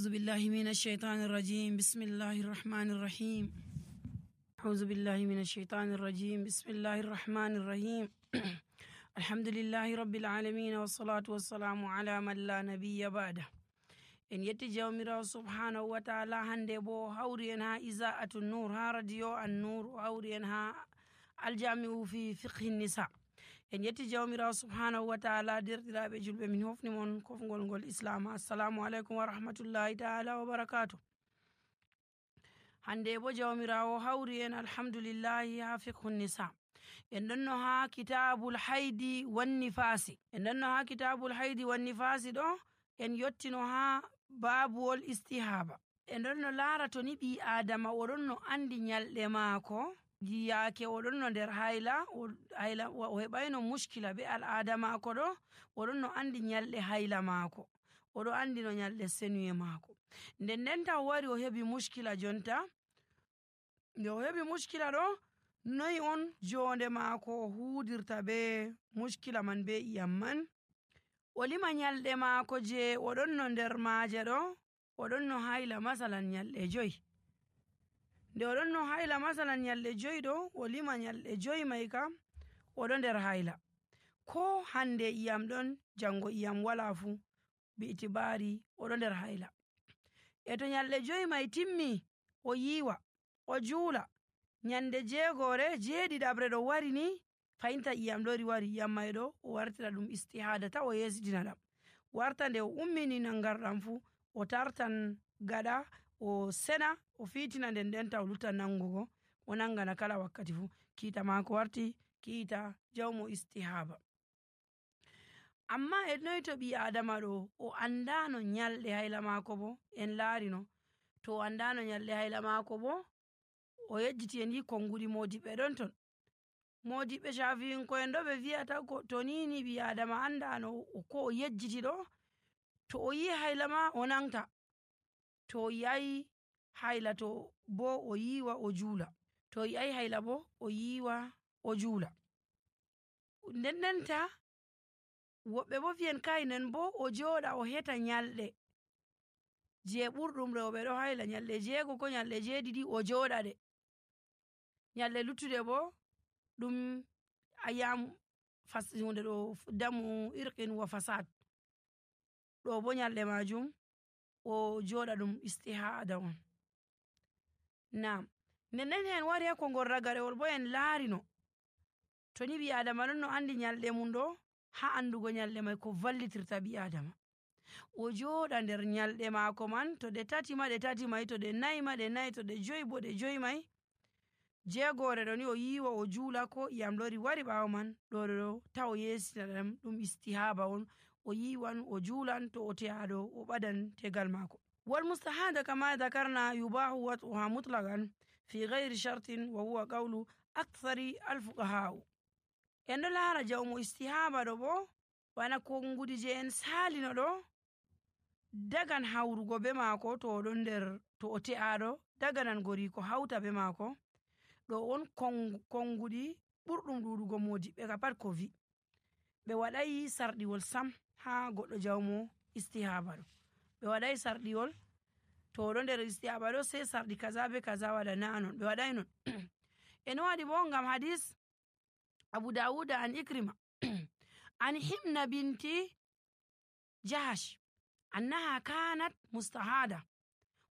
أعوذ بالله من الشيطان الرجيم بسم الله الرحمن الرحيم أعوذ بالله من الشيطان الرجيم بسم الله الرحمن الرحيم الحمد لله رب العالمين والصلاة والسلام على من لا نبي بعده. En yetti jawmirawo subhanahu wa ta'ala hande bo hawri en ha iza'atu nur ha radio an nur hawri en ha aljami'u fi fiqhi nisa. En yetti jawmirawo subhanahu wa ta'ala derɗiraɓe julɓe min hofni mon kofgol ngol islam. Assalamu alaikum wa rahmatullahi ta'ala wa barakatuh. Hande bo jawmirawo hawri en alhamdulillahi ha fiqhu nisa. En ɗonno ha kitabul haidi wan nifasi. En ɗonno ha kitabul haidi wan nifasi ɗo en yottino ha babuwol istihaba. En ɗonno laara to ni ɓi adama o ɗonno andi nyalɗe maako yake o ɗonno nder hayla o heɓayno mushkila be al'ada maako ɗo o ɗonno andi nyalɗe hayla maako, o ɗo andi no nyalɗe senuye maako. Nden ndenta o wari o heɓi mushkila jonta, nde o heɓi mushkila ɗo noyi on jonde maako o hudirta be mushkila man be iyam man. O lima nyalɗe maako je o ɗonno nder maaje ɗo o ɗonno hayla masalan nyalɗe 5. Nde o ɗonno hayla masalan nyalɗe 5 ɗo o lima nyalɗe 5 mai kam o ɗo nder hayla. Ko hande iyam ɗon jango iyam wala fu bi itibari o ɗo nder hayla. E to nyalɗe 5 mai timmi o yiwa o juula nyande 7 ɗo wari ni fayinta iyam ɗori wari iyam mai ɗo o wartira ɗum istihada ta o yesitina ɗam. Warta nde o ummini nangarɗam fu o tartan gaɗa o sena o fitina nden ndenta o luta nangugo o nangana kala wakkati fu kiita maako warti kiita jawmo istihaba. Amma e noy to ɓi adama ɗo o andano nyalɗe hayla maako bo en laarino to o andano nyalɗe hayla maako bo o yejjiti en yi konguɗi modiɓɓe ɗon ton. Modiɓɓe shafi'inko'en ɗo ɓe vi'ata to nini ɓi adama andano ko o yejjiti ɗo to o yi hayla ma o nangta, to o yi'ai hayla to bo o yiwa o juula, to o yi'ai hayla bo o yiwa o juula. Ndendenta woɓɓe bo fiyen kainen bo o joɗa o heta nyalɗe je ɓurɗum rewɓe ɗo hayla nyalɗe 6 ko nyalɗe 7 o joɗa ɗe. Nyalɗe luttuɗe bo ɗum ayam hunde ɗo damu irqin wa fasad ɗo bo nyalɗe majum o joɗa ɗum istihada on. Nam nden en wari ha kongol ragarewol bo en laarino to ni ɓi adama ɗon no andi nyalɗe mum ɗo ha andugo nyalɗe mai ko vallitirta ɓi adama o joɗa nder nyalɗe maako man to ɗe 3 ma ɗe 3 mai, to ɗe 4 ma ɗe 4, to ɗe 5 bo ɗe 5 mai. 6 ɗo ni o yiwa o juula ko iyam lori wari ɓawo man ɗo ta o yesitina ɗam ɗum istihaba on o yiwan o juulan to o te'aɗo o ɓadan tegal maako. Wal mustahada kama dhakarna yubahu wat'uha mutlaqan fi ghairi shartin wa huwa qawlu akthari alfuqaha. En ɗo laara jawmo istihaba ɗo bo bana kongudi je en salino ɗo dagan hawrugo be maako to o ɗon nder to o te'aɗo daganan gori ko hauta be maako ɗo on kongudi ɓurɗum ɗuɗugo modiɓɓe ka pat ko vi ɓe waɗai sarɗiwol sam ha goɗɗo jawmo istihaba ɗo. Ɓe waɗai sarɗiwol to o ɗo nder istihaba ɗo sai sarɗi kaza be kaza waɗa na non ɓe waɗai non. En waɗi bo ngam hadis Abu Dawuda an Ikrima an Himna binti Jahash annaha kanat mustahada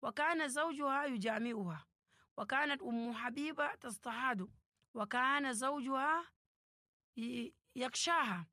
wa kana zawjuha yujami'uha wa kanat ummu Habiba tastahadu wa kana zawjuha yakshaha